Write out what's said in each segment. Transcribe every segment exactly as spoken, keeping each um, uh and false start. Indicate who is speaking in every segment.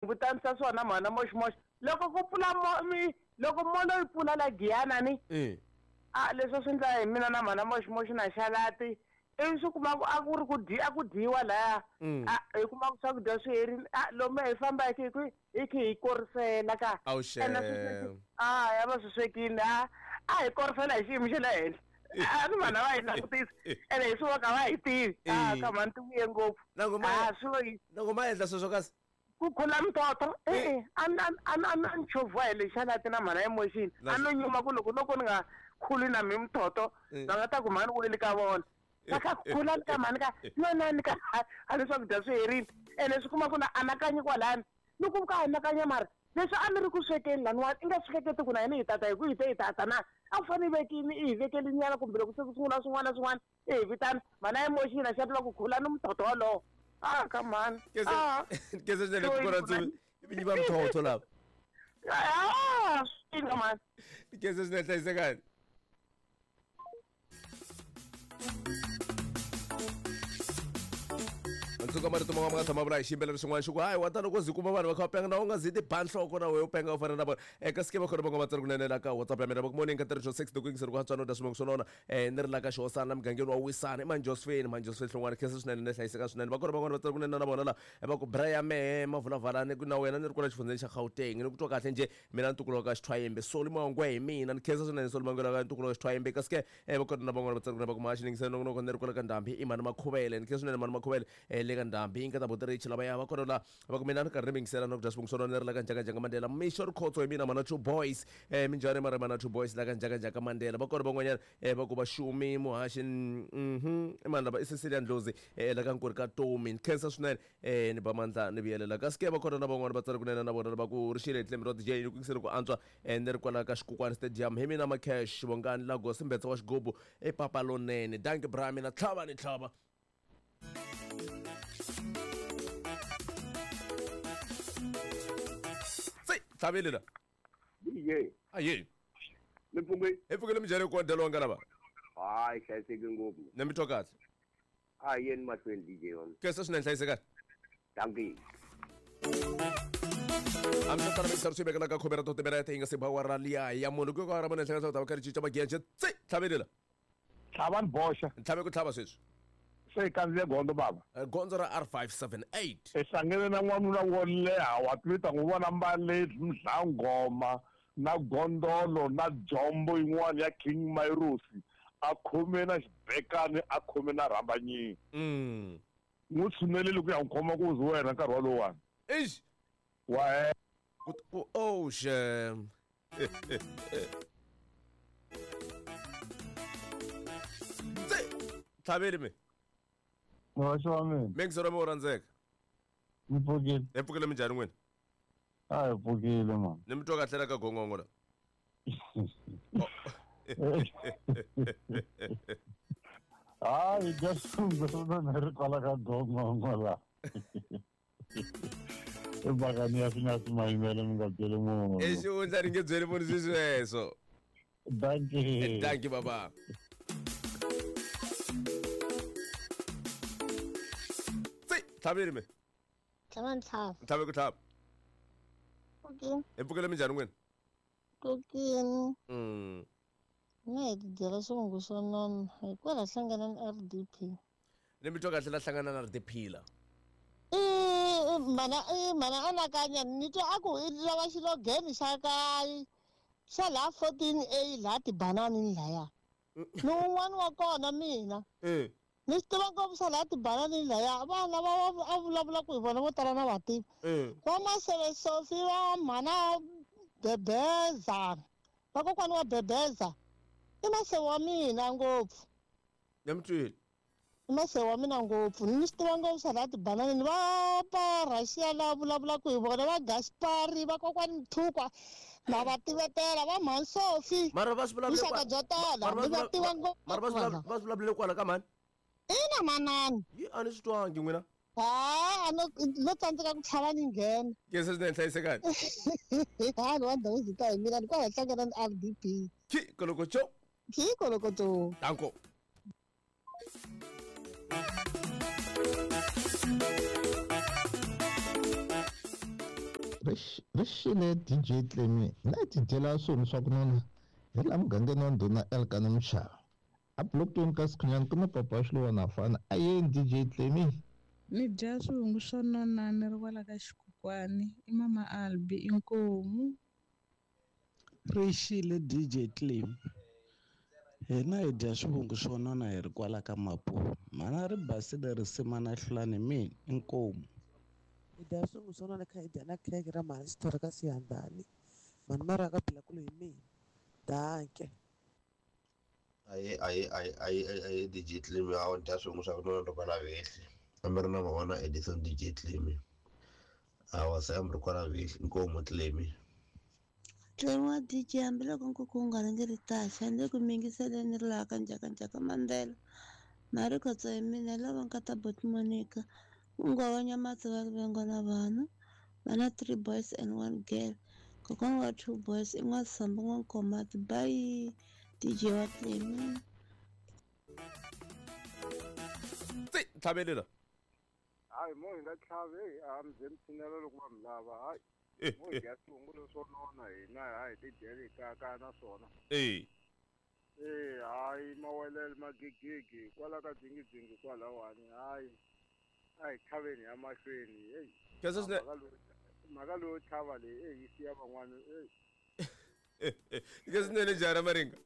Speaker 1: vutanisa swona mhana moximoxi loko ku pfula mi loko molo yi pfula la Giyana ni a leswi swi ndla hi mina na mhana moximoxi na xalati ivi swi kuma ku a ku ri ku dyi a ku dyiwa laya a hi kuma ku swakudya swi herile a lomu hi famba hi khe hi khe hi korisela ka a ya va swi swekile a a hi korisela hi xiyimo xa le henhla a ni vanhu va hi langutisa ene hi swi voka va hi tivi a ka mhani ti vuye ngopfu a swi
Speaker 2: loko ma endla sweswo kasi
Speaker 1: ku khula mitoto e-e a ni a ni a ni chovhiwa hi lexi xalati na mhana emotion a no nyuma ku loko loko ni nga khuli na mi mitoto va nga ta ku mhani weli ka vona va kha khula ni ka mhani ka nonani ka a ni swakudya swi herile ene swi kuma ku na anakanyi kwalani ni ku ka anakanya mara leswi a ni ri ku swekeni laniwani i nga swi hleketi ku na yini hi tata hi ku hi te hi tata na a ku fanele vekini i hi vekeli nyana kumbe loko se ku sungula swin'wana na swin'wana i hi vitana mhana emotion a xa tiva ku khula ni mutoto wolowo ah come on
Speaker 2: ah kese swinene ku kora tsuvi vinyi va mthotho lava
Speaker 1: ah swinga man
Speaker 2: kese swinene hlayisekani Ntsuka marito man'wana ma nga tshama vula hi xiyimbeleri xin'wana xi ku hayi wa ta loko zi kuma vanhu va kha va penga na u nga zi ti ba nhloko na wehe u penga u fana na vona eka sike va khona va nga va tsari kunene la ka WhatsApp ya mina va ku morning ka tirhisho six to ku hantswa no dya swimongo swo nona um ni ri la ka xihosana mugangeni wa Wisana i mani Josephine mani Josephine Hlongwane khensa swinene ni hlayiseka swinene va kona van'wana va tsari kunene na vona la va ku Brian mehe mavulavalani ku na wena ni ri kwala xifundzeni xa Gauteng ni ku twa kahle njhe mina ntukulu wa ka Xithwayimbe Soli Mangwe hi mina ni khensa swinene Soli Mangwe la ka ntukulu wa Xithwayimbe kasi ke va kona na van'wana va tsari kunene va ku mahaxi ni yingisela nongonoko ni ri kwala ka Ndhambi i mani Makhuvele ni khensa swinene mani Makhuvele le ka Ndhambi yi nga ta boterichi lava ya va kona la va ku mina ni karhi ni mingisela na ku dya swivungu swo nona ni ri la ka Njhakanjhaka Mandela Mixo Rikhotso hi mina mana two boys eh minjhani mara mana two boys la ka Njhakanjhaka Mandela va kona van'wanyana eh va ku va xumi muhaxi mhm i mani lava i Cecilia Ndlozi eh la ka Nkuri ka Tomi ni khensa swinene eh ni ba mandla ni vuyelela kasi ke va kona na van'wana va tsari kunene na vona va ku ri xile hi tlembe ra D J ni ku yingisele ku antswa eh ni ri kwala ka Xikukwani Stadium hi mina Macash Vongani Lagos Mbetsa wa xigubu i papa lonene dankie bra mina tlhava ni tlhava tlhavele la
Speaker 3: D J
Speaker 2: aye
Speaker 3: mi pfukile
Speaker 2: hi pfukile minjhani ku dya lowu nga lava
Speaker 3: hayi hlayiseke ngopfu
Speaker 2: ni mi twa kahle
Speaker 3: a yeni mahlweni D J wa
Speaker 2: khensa swinene hlayisekani
Speaker 3: dankie
Speaker 2: hambi swi tala swi vekela ka khome ra totimirete yi nga se ba wa ra liya ya munhu ku ka ra mune hleketa ta va karhi cinca magiya tsi tlhavele la
Speaker 4: tlhava ni boxa
Speaker 2: ntlhave ku tlhava sweswi
Speaker 4: se hi kandziye gondzo baba
Speaker 2: gondzo ra R five seven eight
Speaker 4: hi hlangene na n'wanuna wo leha wa tivita n'wi vona mbale mdlangoma na gondolo na jombo yin'wana ya King Mairosi a khome na xibekani a khome na rhambanyini
Speaker 2: mm
Speaker 4: n'wi tshuneleli ku ya n'wi khoma ku zi wena nkarhi walowani
Speaker 2: eish
Speaker 4: wa
Speaker 2: oh shem tlhaveli mi
Speaker 5: Muhaxi wa mina
Speaker 2: mingiselo mi wo rhandzeka
Speaker 5: mi pfukile
Speaker 2: hi pfukile minjhani n'wina
Speaker 5: a hi pfukile mani
Speaker 2: ni mi twa kahle la ka gongongo la
Speaker 5: hayi dya swingo ri kwala ka gongongo la i bakani ya swi nga swi mayimele mi nga byeli munhu
Speaker 2: i xihundla ni nge byeli munhu swi sweswo
Speaker 5: dankie
Speaker 2: dankie baba tlhaveli me
Speaker 6: tlhava ni tlhava
Speaker 2: ntlhave ku tlhava
Speaker 6: pfukile
Speaker 2: hi pfukile minjhani n'wina
Speaker 6: pfukile
Speaker 2: mm
Speaker 6: ni hi tidyela swivungu swo nona hi kwala hlangana na R D P
Speaker 2: ni mi twa kahle la hlangana na R D P la
Speaker 6: i mana i mana anakanya ni twa a ku i lava xilogeni xa ka xa laha fourteen A laha tibanani laya ni un'wana wa kona mina
Speaker 2: eh
Speaker 6: ni swi tiva ngopfu swa laha tibanani laya vana va a vulavula ku hi vona vo tala na vativi va Maseve Sofi va mhana Bebeza vakokwani wa Bebeza i Maseve wa mina ngopfu
Speaker 2: ni mi twile
Speaker 6: i Maseve wa mina ngopfu ni swi tiva ngopfu swa laha tibanani va pa Russia la vulavulaka hi vona va Gaspari vakokwani Mthukwa na va tivetela va mhani Sofi
Speaker 2: mara va swi vulavule
Speaker 6: vuxaka byo tala ni va tiva ngopfu
Speaker 2: mara va swi vulavule kwala ka mhani
Speaker 6: ina manani
Speaker 2: yi a ni swi twangi n'wina
Speaker 6: ha a no no tsandzeka ku tlhava ni nghena
Speaker 2: khensa swinene hlayisekani
Speaker 6: ha ni wa ndhawu byi ta hi mina ni kwala hlangana ni R D P
Speaker 2: ki kolokocho
Speaker 6: ki kolokocho
Speaker 2: danko
Speaker 7: Ri xile D J Clemi na tidyela swona swa ku nona hi laha mugangeni wa ndhuna Elkana Mchava. A blockweni ka Sikhunyani ku na papa Xiluva fana a yeni D J Clemi.
Speaker 8: Ni dya swivungu swo nona ni ri kwala ka xikokwani i mama Albi inkomu.
Speaker 9: Ri xile D J Clemi. Hina hi dya swivungu swo nona hi ri kwala ka Mapuva. Mhana ri basile risima na hlulani mina inkomu.
Speaker 10: Hi dya swivungu swo nona kha hi dya na khekhe ra mhani xithorha ka Siyandhani. Mhani mara ka Bilakulu hi mina. Danke.
Speaker 11: Aye aye aye aye aye D J Clemi a wu dya swivungu swa ku nona loko la vehli. A mi ri na mavona Edison D J Clemi. A wa se a mi ri kwala vehli inkomu Clemi.
Speaker 12: Clemi wa D J hambiloko nkuku wu nga rhangeri taxa ni le ku mingiseleni ri laha ka njhakanjhaka Mandela. Marikotso hi mina lava nkata Bot Monica. Un'we wa Nyamatsi va Rivengo na vana. Vana three boys and one girl. Kokwana wa two boys i N'wasambu N'wankomati. Bye D J wa Clemi.
Speaker 2: Tsi tlhavelela.
Speaker 13: Hayi mo hi nga tlhavi a mi ze mi tshinela loko va mi lava hayi. Mo hi dya swivungu leswo nona hina hayi ti dyeli kaya na swona.
Speaker 2: Eh.
Speaker 13: Eh hayi mawelele magigigi kwala ka dzingidzingi kwalawani hayi. A hi tlhaveni ya mahlweni hey.
Speaker 2: Kesa swine
Speaker 13: mhaka leyo tlhava leyi eh yi siya van'wana eh.
Speaker 2: Kesa swinene jara Maringa.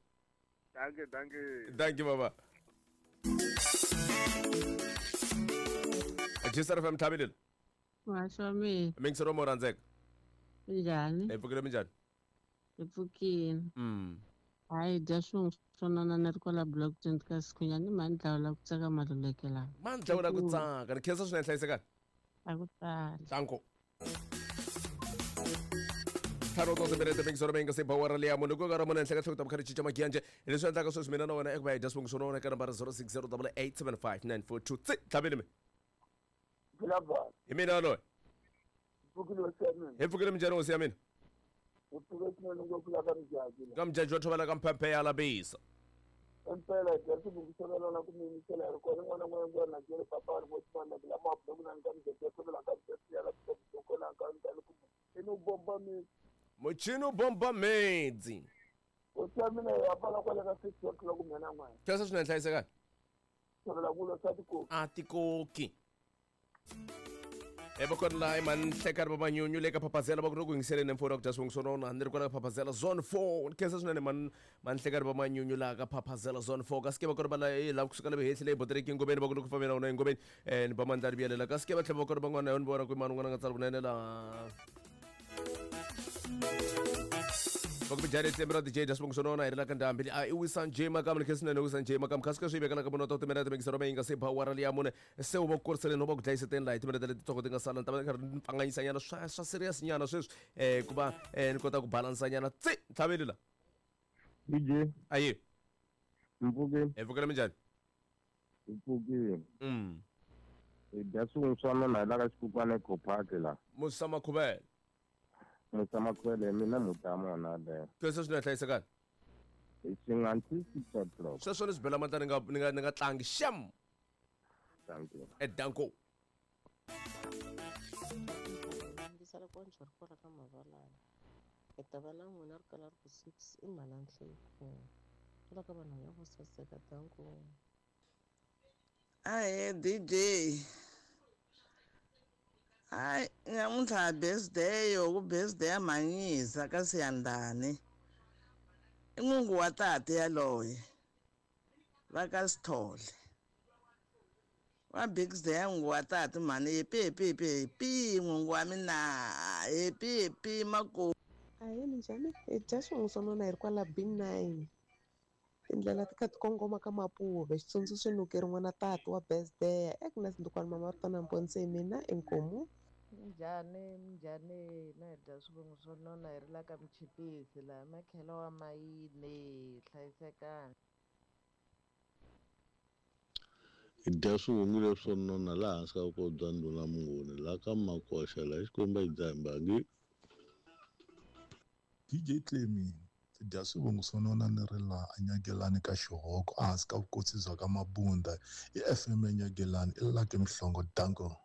Speaker 13: Danke danke.
Speaker 2: Danke baba. Jisara F M tlhavelela.
Speaker 14: Wa mina.
Speaker 2: Mingisero mo rhandzeka.
Speaker 14: Minjhani?
Speaker 2: Hi pfukile minjhani?
Speaker 14: Hi pfukile.
Speaker 2: Mm.
Speaker 14: Hayi dya swivungu swo nona ni ri kwala block twenty ka Sikhunyani mhani dlawula ku tsaka maluleke lawa.
Speaker 2: Mhani dlawula ku tsaka. Ni khensa swinene hlayisekani.
Speaker 14: A ku tali.
Speaker 2: Danko. Ntlhanu to timinete mingisero mi nga se bawara leya munhu ku ka ra mune henhla ka nhloko ta vukhari cinca magiyanje leswi endlaka sweswi mina na wena eku va hi dya swivungu swo nona eka nambara zero six zero double eight seven five nine four two tsi tlhaveli mi. Hi mina yaloye. Hi pfukile minjhani hosi ya mina?
Speaker 15: Hi pfuke swinene ngopfu la ka Mjaji.
Speaker 2: Ka Mjaji wa thovela ka Mphemphe ya Labisa.
Speaker 15: Impela hi dya swivungu swo nona ku mi yingisela hi ri kona n'wana n'wana na byele papa ri n'wana la mabulo ku na ka Mjaji wa thovela ka Mjaji ya Labisa kona ka ndani ku i no bomba mi.
Speaker 2: Muchini bomba medzi.
Speaker 15: Hosi ya mina ya pfala kwala ka six o'clock mina n'wana.
Speaker 2: Khensa swinene hlayisekani.
Speaker 15: Thovela kulo swa tikoki.
Speaker 2: A tikoki. E va kona laha i manhlekani va manyunyu le ka Phaphazela va ku ri ku yingiseleni mfowuni wa ku dya swivungu swo nona ni ri kwala ka Phaphazela zone four ni khensa swinene man manhlekani va manyunyu laha ka Phaphazela zone four kasi ke va kona va la laha kusuka la vehehli leyi botereki engomeni va ku ri ku fambeni na wona engomeni um ni ba mandla ri vuyelela kasi ke va tlhela va kona van'wana yo ni vona ku i mani un'wana a nga tsala kunene laha va ku bijani tlembe ra D J dya swivungu swo nona hi ri la ka ndhambi a i wisa J Makamu ni khensa swinene wisa J Makamu kasi ka swi vekela ka munhu ta timinete mingisero mi nga se bawara leya mune se u va ku kuriseleni u va ku dlayiseteni laha hi timinete letitsongo ti nga sala ni ta va ni karhi ni pfanganyisa nyana swa swa serious nyana sweswi um ku va um ni kota ku balansa nyana tsi tlhaveli la
Speaker 16: D J
Speaker 2: ayi
Speaker 16: mpfukile
Speaker 2: hi pfukile minjhani
Speaker 16: hi pfukile
Speaker 2: mm
Speaker 16: hi dya swivungu swa nona hi la ka xikukwana eCopark la
Speaker 2: Musa Makhuvele
Speaker 16: Musa Makhuvele mina mutama wona leyo.
Speaker 2: Khensa swinene hlayisekani.
Speaker 16: Hi xinga until six o'clock.
Speaker 2: Sweswo ni swi bela mandla ni nga ni nga ni nga tlangi xem.
Speaker 16: Thank you.
Speaker 2: E danko.
Speaker 17: Yingisela konje ri kwala ka mavalani. Hi ta va na n'wina ri kala ri ku six i mhala nhleko. Kwala ka vanhu ya vo saseka danko.
Speaker 18: Ahe D J. Hayi namuntlha birthday yo ku birthday ya Manyisa ka Siyandhani. I n'wungu wa tate yaloye va ka Sithole. Wa birthday ya n'wungu wa tate mhani happy happy happy happy n'wungu wa mina happy happy mako.
Speaker 10: Ahee minjhani hi dya swivungu swo nona hi ri kwala B nine. Tindlela ti kha ti kongoma ka Mapuve xitsundzuxo nukeri n'wana tata wa birthday Agnes Ndukwana mama ri tona hi mina inkomu.
Speaker 19: Minjhani minjhani na hi dya swivungu swo nona hi ri la ka Michipisi laha makhelo wa mayini hlayisekani.
Speaker 20: Hi dya swivungu leswo nona laha hansi ka vukosi bya ndhuna Munguni laha ka Makoxa laha Xikwembu a xi dzaha mbangi.
Speaker 21: D J Clemi dya swivungu swo nona ni ri laha eNyagelani ka Xihoko ehansi ka vukosi bya ka Mabunda i F M eNyagelani i Lucky Mhlongo danko.